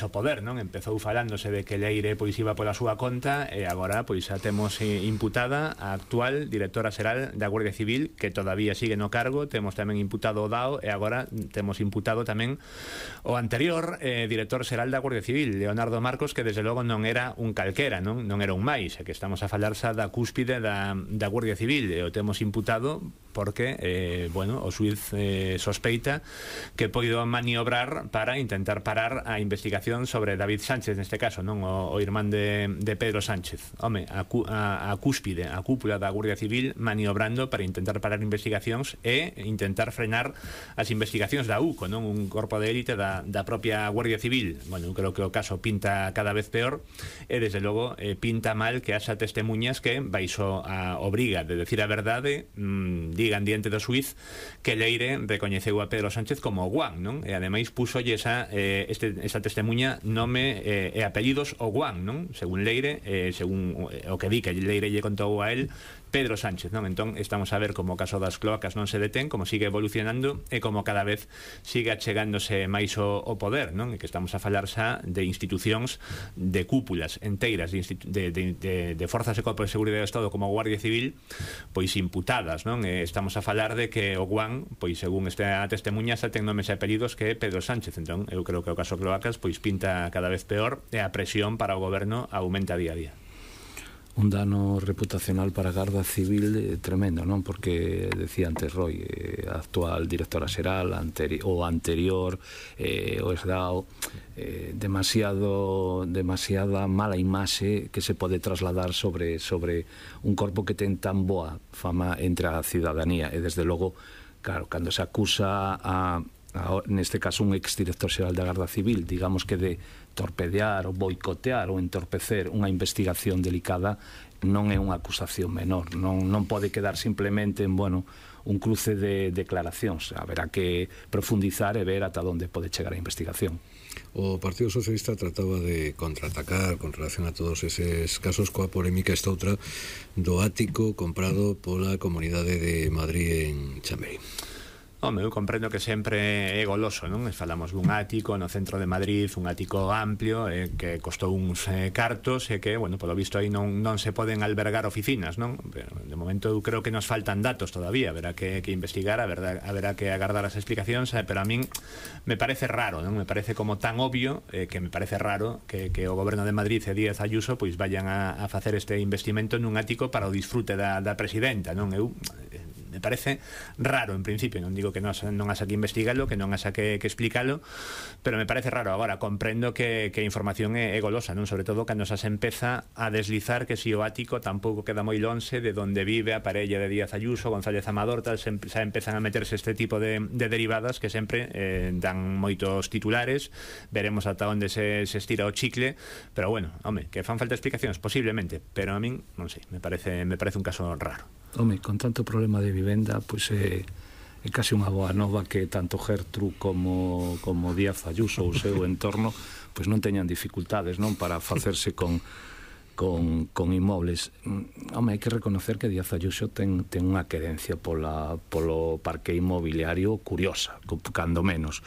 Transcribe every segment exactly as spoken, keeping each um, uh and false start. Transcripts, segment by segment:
o poder, non? Empezou falándose de que Leire pois iba pola súa conta e agora pois a temos imputada a actual directora xeral da Guardia Civil, que todavía sigue no cargo. Temos tamén imputado o Dao e agora temos imputado tamén o anterior eh, director xeral da Guardia Civil, Leonardo Marcos, que desde logo non era un calquera, non, non era un máis, e que estamos a falar xa da cúspide da, da Guardia Civil, e o temos imputado porque, eh, bueno, o xuiz eh, sospeita que poido maniobrar para intentar parar a investigación sobre David Sánchez, neste caso, non o, o irmán de, de Pedro Sánchez. Home, a, a, a cúspide, a cúpula da Guardia Civil maniobrando para intentar parar investigacións e intentar frenar as investigacións da U C O, non? Un corpo de élite da, da propia Guardia Civil. Bueno, eu creo que o caso pinta cada vez peor e, desde logo, eh, pinta mal que haxa testemunhas que baixo a obriga de decir a verdade mmm, digan diante do xuiz que Leire recoñeceu a Pedro Sánchez como Guan, non? E ademais puxolle esa, eh, este, esa testemunha nome eh, e apelidos o Guan, non? Según Leire, eh, según o que di que Leire lle contou a él Pedro Sánchez, non? Entón estamos a ver como o caso das cloacas non se detén, como sigue evolucionando e como cada vez sigue achegándose máis o, o poder, non? E que estamos a falar xa de institucións, de cúpulas enteiras de, de, de, de, de forzas e corpos de seguridade do Estado como a Guardia Civil, pois imputadas, non? E estamos a falar de que o Guan, pois según esta testemunha, xa ten nomes e apelidos que Pedro Sánchez. Entón eu creo que o caso cloacas pois pinta cada vez peor e a presión para o goberno aumenta día a día. Un dano reputacional para a Garda Civil eh, tremendo, non? Porque decía antes Roy, eh, a actual directora xeral anteri o anterior eh, o esdao eh, demasiado demasiada mala imaxe que se pode trasladar sobre sobre un corpo que ten tan boa fama entre a cidadanía e, desde logo, claro, cando se acusa a A, neste caso un exdirector xeral da Garda Civil, digamos que de torpedear ou boicotear ou entorpecer unha investigación delicada, non é unha acusación menor, non, non pode quedar simplemente en, bueno, un cruce de declaracións. Haberá que profundizar e ver ata onde pode chegar a investigación. O Partido Socialista trataba de contraatacar con relación a todos eses casos coa polémica esta outra do ático comprado pola Comunidade de Madrid en Chamberí. Home, eu comprendo que sempre é goloso, non? Falamos dun ático no centro de Madrid, un ático amplio eh, que costou uns eh, cartos e que, bueno, polo visto aí non, non se poden albergar oficinas, non? Pero, de momento eu creo que nos faltan datos todavía, haberá que, que investigar, haberá, haberá que agardar as explicacións, eh, pero a min me parece raro, non? Me parece como tan obvio eh, que me parece raro que, que o goberno de Madrid e Díaz Ayuso pois vayan a, a facer este investimento nun ático para o disfrute da, da presidenta, non? Eu eh, me parece raro en principio, non digo que non, non haxa que investigalo, que non haxa que, que explícalo, pero me parece raro. Agora, comprendo que, que a información é, é golosa, non? Sobre todo cando xa se empeza a deslizar que si o ático tampouco queda moi lonxe de donde vive a parella de Díaz Ayuso, González Amador, tal, se, xa empezan a meterse este tipo de, de derivadas que sempre eh, dan moitos titulares. Veremos ata onde se, se estira o chicle, pero bueno, home, que fan falta explicacións, posiblemente, pero a min, non sei, me parece, me parece un caso raro. Home, con tanto problema de vivenda, pois é, é casi unha boa nova que tanto Gertrude como, como Díaz Ayuso ou o seu entorno pois non teñan dificultades, non, para facerse con con, con inmobles. Home, hai que reconocer que Díaz Ayuso ten, ten unha querencia pola, polo parque inmobiliario curiosa, cando menos.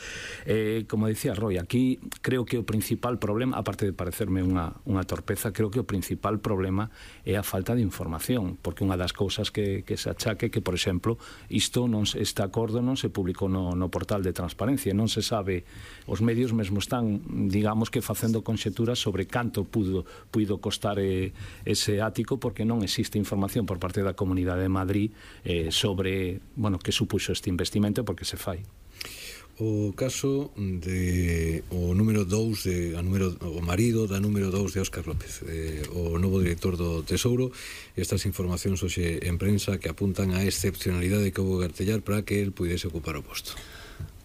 Eh, como dicía Roy, aquí creo que o principal problema, aparte de parecerme unha, unha torpeza, creo que o principal problema é a falta de información, porque unha das cousas que, que se achaque que, por exemplo, isto non se, este acordo non se publicou no, no portal de transparencia, non se sabe, os medios mesmo están, digamos que facendo conxeturas sobre canto pudo, puido costar ese ático, porque non existe información por parte da Comunidade de Madrid eh, sobre, bueno, que supuxo este investimento, porque se fai. O caso de o número dous de, a número, o marido da número dous de Óscar López, eh, o novo director do Tesouro. Estas informacións hoxe en prensa que apuntan a excepcionalidade que houve que artellar para que el puidese ocupar o posto.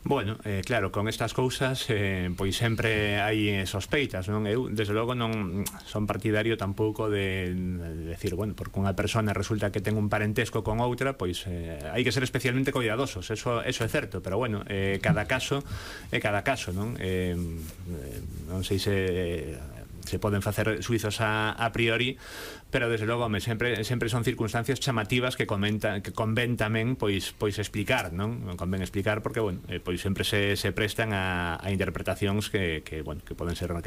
Bueno, eh, claro, con estas cousas eh, pois sempre hai eh, sospeitas, non? Eu, desde logo, non son partidario tampouco de, de decir, bueno, porque unha persona resulta que ten un parentesco con outra, pois eh, hai que ser especialmente cuidadosos, eso, eso é certo, pero bueno, eh, cada caso é cada caso, non? Eh, non sei se... Eh, se poden facer suizos a, a priori, pero desde logo, home, sempre, sempre son circunstancias chamativas que comenta, que convén tamén pois, pois explicar, non? Convén explicar porque, bueno, eh, pois sempre se, se prestan a, a interpretacións que, que, bueno, que poden ser